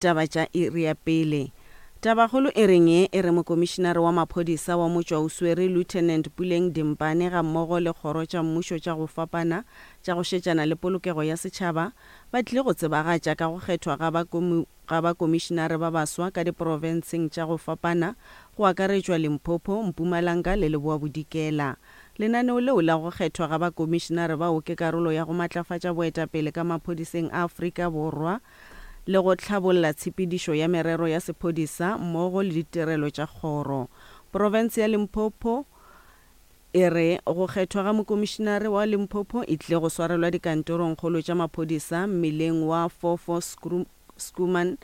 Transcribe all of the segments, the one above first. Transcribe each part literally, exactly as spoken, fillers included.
Taba tša iri ya pele. Tabakgolo e reng ye e re Mokomišinare wa Maphodisa wa Motšwaoswere Lieutenant Puleng Dimpane gammogo le kgoro tša mmušo tša go fapana tša go šetšana le polokego ya setšhaba ba tlile go tsebagatša ka go kgethwa ga ba ga bakomišinare ba baswa ka diprofenseng tša go fapana go akaretšwa Limpopo, Mpumalanga le Leboa Bodikela. Lenaneo leo la go kgethwa ga bakomišinare bao ke karolo ya go matlafatša boetapele ka maphodiseng a Afrika Borwa le go hlabolla tshepedišo ya merero ya sephodisa mmogo le ditirelo tša kgoro. Profense ya Limpopo e re go kgethwa ga mokomišinare wa Limpopo e tlile go swarelwa dikantorongkgolo tša maphodisa mmileng wa Fofo Schoeman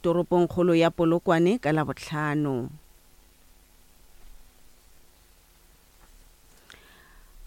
toropongkgolo ya Polokwane ka Labohlano.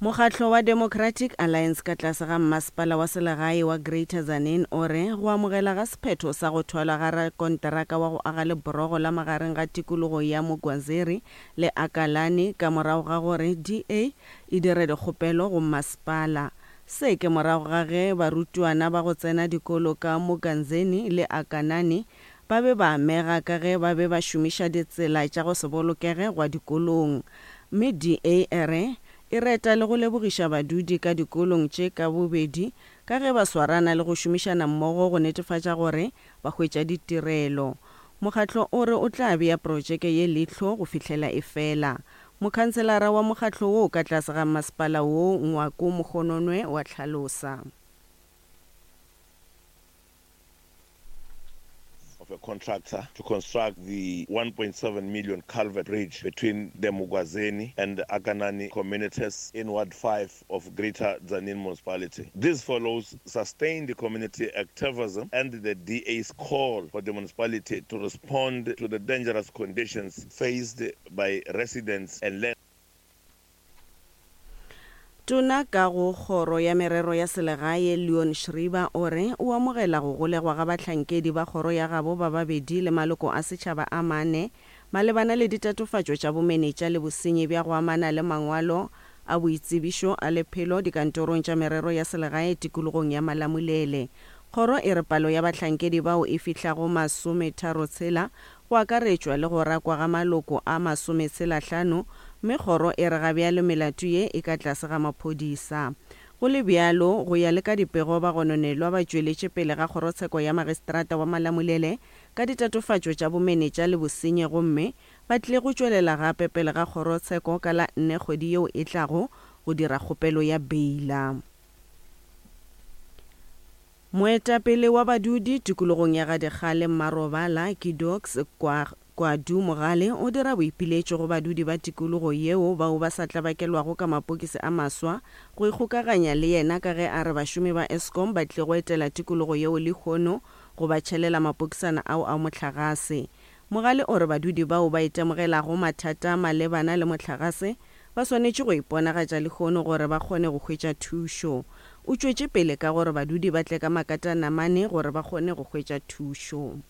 Mokgatlo wa Democratic Alliance ka tlase ga mmasepala wa selegae wa Greater Tzaneen o re go amogela ga sephetho sa go thwalwa ga rakonteraka wa go aga leborogo la magareng ga tikologo ya Mugwazeri le Akalani ka morago ga gore D A e dire dikgopelo go mmasepala. Se ke morago ga ge barutwana ba go tsena dikolo ka Muganzeni le Akanani ba be ba amega ka ge ba be ba šomiša ditsela tša go se bolokege gwa dikolong. Mme D A e re e reta le go lebogiša badudi ka dikolong tše ka bobedi ka ge ba swarana le go šomišana mmogo go netefatša gore ba hwetša ditirelo. Mokgatlo o re o tla bea projeke ye leihlo go fihlela e fela. Mokhanselara wa mokgatlo wo ka tlase ga masepala wo Ngwako Mogononwe wa hlalosa. Of a contractor to construct the one point seven million culvert bridge between the Mugwazeni and the Akanani communities in Ward five of Greater Tzaneen Municipality. This follows sustained community activism and the D A's call for the municipality to respond to the dangerous conditions faced by residents and land. Tona ka go kgoro ya merero ya selegae Leon Schreiber o re o amogela go golegwa ga bahlankedi ba kgoro ya gabo ba babedi le maloko a setšhaba a mane malebana le ditatofatšo tša bomenetša le bosenyi bja go amana le mangwalo a boitsebišo a lephelo dikantorong tša merero ya selegae tikologong ya Malamulele. Kgoro e re palo ya bahlankedi bao e fihlago masometharotshela go akaretšwa le go rakwa ga maloko a masometshelahlano mme kgoro e re ga bjalo melato ye e ka tlase ga maphodisa. Go le bjalo go ya le ka dipego ba gononelwa ba tšweletše pele ga kgorotsheko ya magistrata wa Malamulele ka ditatofatšo tša bomenetša le bosenyi gomme ba tlile go tšwelela gape pele ga kgorotsheko ka la nne kgwedi yeo e tlago go dira kgopelo ya beila. Moetapele wa badudi tikologong ya Gadikgale Mmarobala Kidox kwa Kwadu Mogale o dira boipiletšo go badudi ba tikologo yeo bao ba sa tlabakelwago ka mapokisi a maswa go ikgokaganya le yena ka ge a re bašomi ba Eskom ba tlile go etela tikologo yeo lehono go ba tšhelela mapokisana ao a mohlagase. Mogale o re badudi bao ba itemogelago mathata malebana le mohlagase ba swanetše go iponagatša lehono gore ba kgone go hwetša thušo. O tšwetše pele ka gore badudi ba tle ka makatanamane gore ba kgone go hwetša thušo.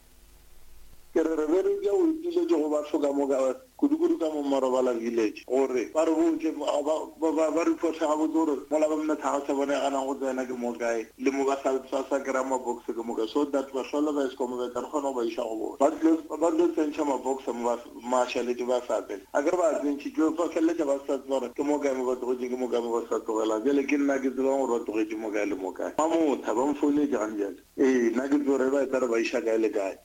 Ke re re be re ja o ipiletše go batho ka moka kudu-kudu ka mo Marobala village gore ba re botše ba ba ba reporte gabotse gore mola ba mohlagase bone ganang go tsena ke mo kae le mo ba sa sa sa kry-a mabox ke mo kae so that bahlola ba Eskom ba tla re kgona go ba iša go bona. Ba tlilo ba tlilo tsentšha mabox mo ba mašaledi ba sa pele a kere ba tsentšhitšwe ba feleletša ba sa tseba gore ke mo kae mo ba tlogetše ke mo kae mo ba sa tlogelang. Bjale ke nna ke tsebang gore ba tlogetše mo kae le mo kae. Mamotha ba mfounetše gane bjale ee nna ke tsebe gore ba e tla re ba iša kae le kae.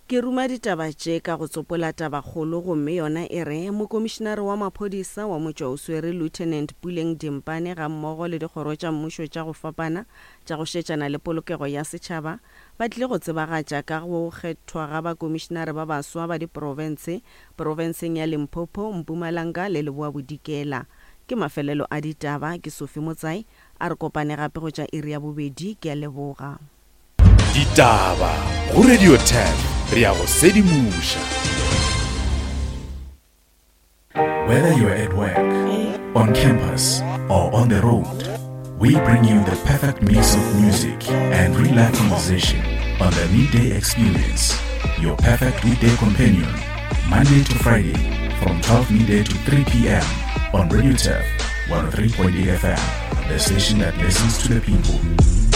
Ke ruma ditaba tše ka go tsopola tabakgolo gomme yona e re mokomišinare wa maphodisa wa Motšwaoswere Lieutenant Puleng Dimpane gammogo le dikgoro tša mmušo tša go fapana tša go šetšana le polokego ya setšhaba ba tlile go tsebagatša ka go kgethwa ga bakomišinare ba baswa ba diprofense profenseng ya Limpopo, Mpumalanga le Leboa Bodikela. Ke mafelelo a ditaba ke Sophie Motsai a re kopane gape go tša iri ya bobedi ke a leboga. Ditaba go Radio ten re ya go sedimoša. Whether you're at work, on campus, or on the road, we bring you the perfect mix of music and real life conversation on the Midday Experience, your perfect weekday companion, Monday to Friday from twelve midday to three p m on Radio Turf one oh three point eight F M, the station that listens to the people.